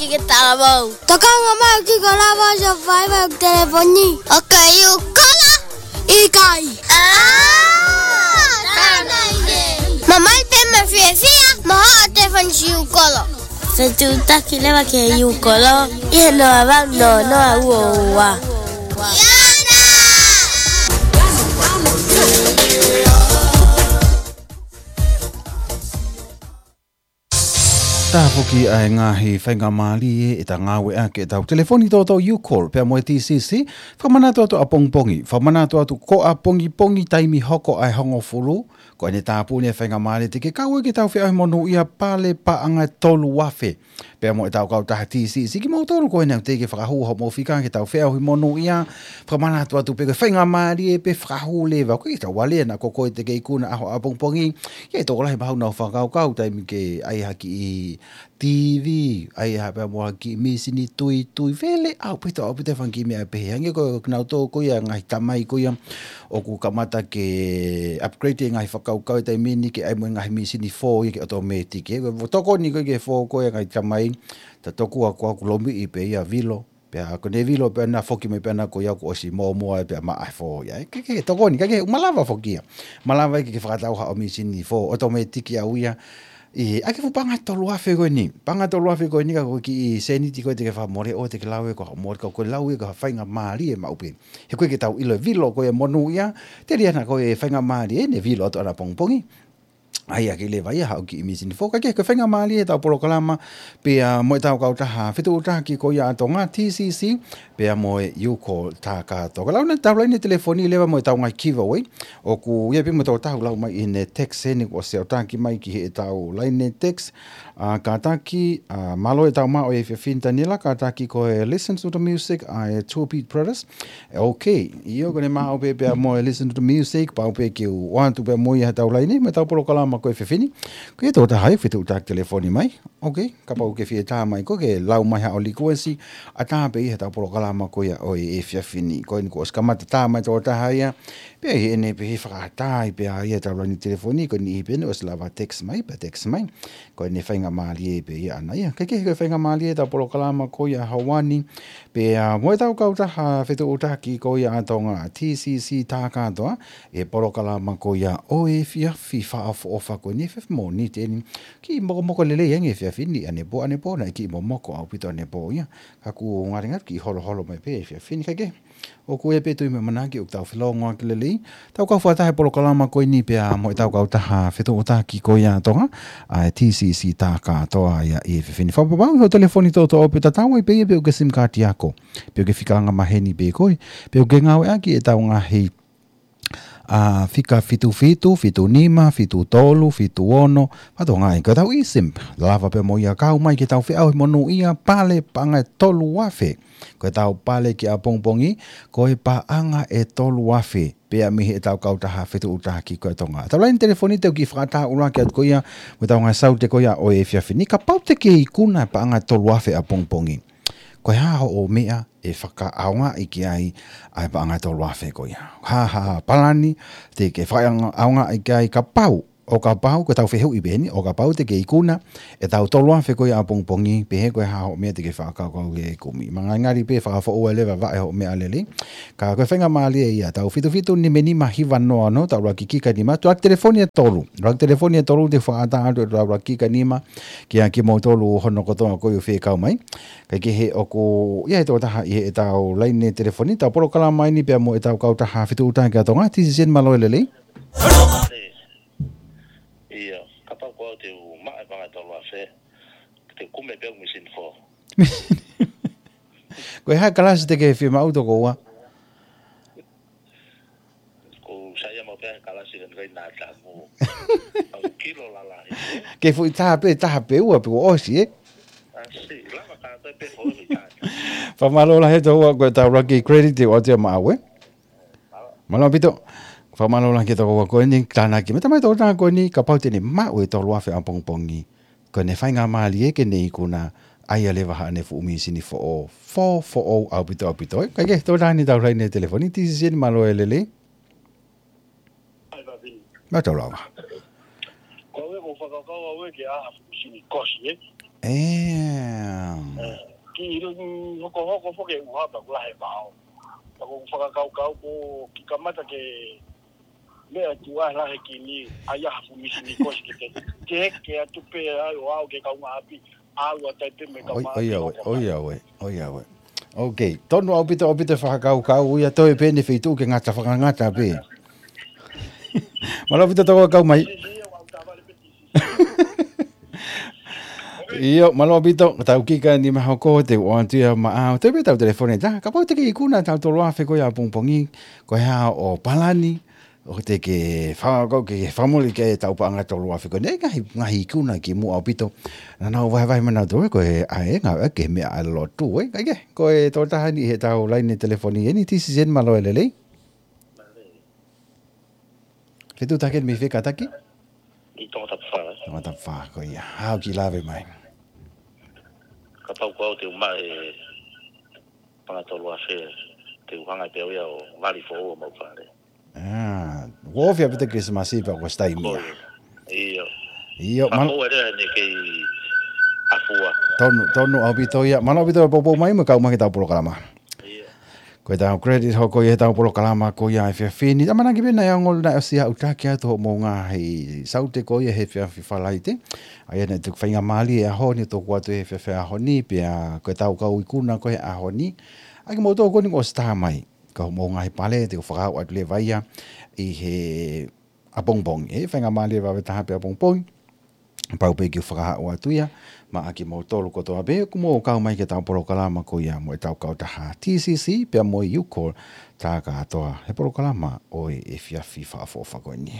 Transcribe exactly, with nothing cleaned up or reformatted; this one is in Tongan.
Ki ke talavou. Tokanga mai ki ko lava survivor telefoni. ʻOku ke ʻi Ukolo? ʻIkai. Ah, tana ine. Mamaʻo pē mo fiefia, mo hoʻo telefoni ʻi Ukolo. Fetuʻutaki leva ki he ʻi Ukolo, ʻi he noa valu noa noa ua ua. Taha foki ʻa e ngaahi faingamālie ʻe ta ngāueʻaki ʻetau telefoni tōtō Ukolo pea mo e T C C, fakamanatu atu ʻapongipongi, fakamanatu atu ko ʻapongipongi taimi hoko ʻa e hongofulu, ko ʻene tāpuni e faingamālie te ke kau ai ke tau feʻauhi monūʻia pale paʻanga ʻe tolu afe. Pea mo ʻetau kautaha T C C, kimoutolu ko ena te ke fakahū hoʻomou fika ke tau feʻauhi monūʻia, fakamanatu atu pē ko e faingamālie pē fakahū leva, ko e tau alea naʻa ko koe te ke ikuna ʻaho ʻapongipongi, ʻi he tokolahi mahalo naʻa nau fakakaukau taimi ke ʻai ha kiʻi T V, ʻai ha pea mo ha kiʻi mīsini tuitui, vela ʻaupito, ʻaupito e fanga kiʻi meʻa pehē. Hangē ko kinautolu ko ia ngaahi tamai ko ia ʻoku kamata ke upgrade e ngaahi fakakaukau e taimi ni ke ʻai mo e ngaahi mīsini fō ia ke automatic. He ko e tokoni ko ē ke fō ko ia ngaahi tamai, ta tokua ko ʻeku lomiʻi pē ia vilo. Pea ko ʻene vilo pē ʻana foki mai pē ʻana ko ia kuo ʻosi mōmoa pea maʻa e fō ia. Ke, ke tokoni, ka ke malava foki ia. Malava ke, ke fakatau haʻo mīsini fō, automatic au ia. ʻI, ʻa e fuʻu paʻanga ʻe tolu afe ko eni. Paʻanga ʻe tolu afe ko eni ka ko e kiʻi sēniti ko ē te ke fakamole ʻo te ke lau ia ko ha mole ka ko e lau ia ko ha faingamālie maʻu pē. He ko e ke tau ʻilo e vilo ko e monūʻia, telia naʻa ko e faingamālie ʻene vilo atu ʻapongipongi. ʻAi ʻaki leva ia haʻo kiʻi mīsini fō, ka ke ko e faingamālie ʻetau polokalama, pea mo ʻetau kautaha fetuʻutaki ko ia ʻa Tonga T C C, pea mo e Ukolo tā kātoa. Ka lau ʻetau laine telefoni leva mo ʻetau ngaahi giveaway, ʻoku ʻi ai pē mo ʻetau taha ʻoku lau mai ʻi heʻene text eni kuo ʻosi ʻoatu ki mai ki heʻetau laine text, ʻa, kātaki, ʻa, mālō e tau maʻu e fiefin Taniela, kātaki ko e Listen to the Music, ʻa e Two Beat Brothers. ʻE, ok, ʻio ko ʻene maʻu pē pea mo e Listen to the Music, pau pē ke u ʻoatu pē mo ia heʻetau laine, mo ʻetau polokalama ko e fiefin. Ko e tō taha ia fetuʻutaki telefoni mai. Ok, kapau ke fie tā mai ko ke lau mai haʻo likuesi, ʻatā pē ia heʻetau polokalama ko ia ʻo e fiefin. Ko eni kuo ʻosi kamata tā mai tō taha ia, pea ʻi heʻene pē he fakatātā pē ia heʻetau laine telefoni, ko eni pē ʻene ʻosi lava text mai, pea text mai. Ko ʻene faingamālie pē ia ʻana ia. Ka ke ko e faingamālie ʻetau polokalama ko ia ʻaho ni. Pea mo ʻetau kautaha fetuʻutaki ko ia ʻa Tonga T C C tā kātoa, e polokalama ko ia ʻo e efiafi fakaʻofoʻofa ko eni efiafi Mōnite ni. Kiʻi mokomoko lelei ange efiafi ni ʻanepō, ʻanepō naʻe kiʻi momoko ʻaupito ʻanepō ia. Ka kuo ngali ngali kiʻi holoholo mai pē efiafi ni ka ke. ʻOku ʻi ai pē tui mo e ʻamanaki ʻoku tau felōngoaki lelei. Tau kau fakataha he polokalama ko eni pea mo ʻetau kautaha fetuʻutaki ko ia ʻa Tonga, ʻa e T C C tā kātoa ia ʻi he efiafi ni. Fakapapauʻi hoʻo telefoni tōtō ʻo pē tatau ai pē ia pe ʻoku ke sim kaati ako. Pe ʻoku ke fika anga maheni pē koe. Pe ʻoku ke ngāueʻaki ʻetau ngaahi, ʻa, fika fitu fitu, fitu nima, fitu tolu, fitu ono, fatongia ko ʻetau eSIM. Lava pē mo ia kau mai ke tau feʻauhi monūʻia pale paʻanga ʻe tolu afe. Ko ʻetau pale ki ʻapongipongi, ko e paʻanga ʻe tolu afe, pea mei heʻetau kautaha fetuʻutaki ko ia ʻa Tonga. Tau laine telefoni te u kiʻi fakatātā ʻaki atu ko ia, mo ʻetau ngaahi saute ko ia ʻo e efiafi ni, kapau te ke ikuna paʻanga ʻe tolu afe ʻapongipongi. Ko e hā hoʻo meʻa ʻe fakaʻaongaʻi ki ai ʻa e paʻanga ʻe tolu afe ko ia. Hā, hā, palani, te ke fakaʻaongaʻi ki ai kapau ʻo kapau, ko ʻetau fehuʻi pē eni, ʻo kapau te ke ikuna ʻetau tolu afe ko ia ʻapongipongi, pehē ko e hā hoʻo meʻa te ke fakakaukau ke kumi. Mangaingali pē fakafoʻou leva vaʻe hoʻo meʻa lelei. Ka ko e faingamālie ia, tau fitu fitu nima nima hiva noa noa, tau ʻuluaki kika nima, tau ʻuluaki telefoni ʻe tolu. ʻUluaki telefoni ʻe tolu te u fakatātā atu ʻetau ʻuluaki kika nima, kia kimoutolu hono kotoa ko ia ʻoku fekau mai. Kae kehe ʻoku ʻi ai e tō taha ʻi heʻetau laine telefoni, tau polokalama eni pea mo ʻetau kautaha fetuʻutaki ʻa Tonga, T C C mālō e lelei. Ia, kapau ko au te u maʻu e paʻanga ʻe tolu afe, te u kumi pē au mīsini fō. Ko e hā e kalasi te ke fiemaʻu tokoua? Ko u saiʻia maʻu pē he kalasi ʻoku ʻikai nā tamu. Au kilo lalahi. Ke fuʻu taha pē, taha pē ua pē kuo ʻosi, ē? ʻAsi, lava kātoa pē fō ʻi taha. Fakamālō lahi tokoua ko ʻetau ʻuluaki credit te u ʻoatu ia maʻau, ē? Mālō ʻaupito. Fakamālō lahi ki he tokoua ko eni, tānaki. Mei he tamai tokotaha ko eni, kapau te ne maʻu e tolu afe ʻapongipongi, ko ʻene faingamālie ke ne ikuna, ʻai ia leva haʻane fuʻu mīsini foʻou, fō, foʻou ʻaupito, ʻaupito. Kae kehe, tō taha eni ʻetau laine telefoni, T C C mālō e lelei. Mālō lava. Ko au ē, ko u fakakaukau au ē ke ʻai ha fuʻu mīsini kosi, ē? ʻE, ki ilo ni hokohoko foki e ʻuha pea kuo lahi e vao. Pea ʻoku ou fakakaukau ko e kiʻi kamata ke meʻa tuʻa lahi ki ni, ʻai ha fuʻu misi ni kosi ke te, ke, ke atu pē ai ʻo aʻu ki he kaungāʻapi, ʻalu atu ai pē mo e kaungāʻapi. ʻOi, ʻoiauē, ʻoiauē, ʻoiauē. Ok, tonu ʻaupito, ʻaupito e fakakaukau, ʻoku ʻi ai e toe pē ʻene feituʻu ke ngata, fakangata pē. Mālō ʻaupito tau kau mai. ʻIo, mālō ʻaupito, tau kika ni ma hoko te u ʻoatu ia maʻau. Te u pē tau telefoni tā, kapau te ke ikuna ʻa e tau tolu afe ko ia ʻapongipongi, ko e hā hoʻo palani, ʻoku te ke fa-, ko e ke fakamole ki he tau paʻanga tolu afe ko eni, ngaahi, ngaahi ikuna kimuʻa ʻaupito. Naʻa nau vahevahe mai nautolu ko e ʻai e ngāue ki he meʻa ʻa e lotu, ē, kae kehe, ko e tokotaha ni he tau laine telefoni eni, T C Z mālō e lelei. Fetuʻutaki mei fē kātaki? ʻI Tongatapu fā, ē? Tongatapu fā, ko ia. Haʻu ki lave mai. Kapau ko au te u maʻu e paʻanga tolu afe, te u hanga pē au ia ʻo vali foʻou homau fale. ʻA, ʻoku ofi ʻaupito Kilisimasi pea kuo ʻosi taimi ia. ʻIo. ʻIo, mālō. Fakafou e lea ne kei afua. Tonu, tonu ʻaupito ia. Mālō ʻaupito e poupou mai mo e kau mai ki he tau polokalama. ʻIo. Ko e tau credit hoko ia he tau polokalama ko ia he efiafi ni. ʻAmanaki pē naʻe ongo naʻe ʻosi aʻutaki atu hoʻomou ngaahi saute ko ia he efiafi Falaite. ʻA ia naʻe tuku faingamālie e ʻaho ni ʻo toku atu he efiafi ʻaho ni, pea ko e tau kau ikuna ko ia he ʻaho ni. ʻA kimoutolu ko eni kuo ʻosi tā mai. Ka hoʻomou ngaahi pale, te u fakaaʻu atu leva ia ʻi he ʻapongipongi. ʻE, faingamālie vave taha pē ʻapongipongi. Pau pē ke u fakaaʻu atu ia, maʻa kimoutolu kotoa pē, ʻoku mou kau mai ki he tau polokalama ko ia mo e tau kautaha T C C, pea mo e U-Call, tā kātoa he polokalama ʻo e efiafi fakaʻofoʻofa ko eni.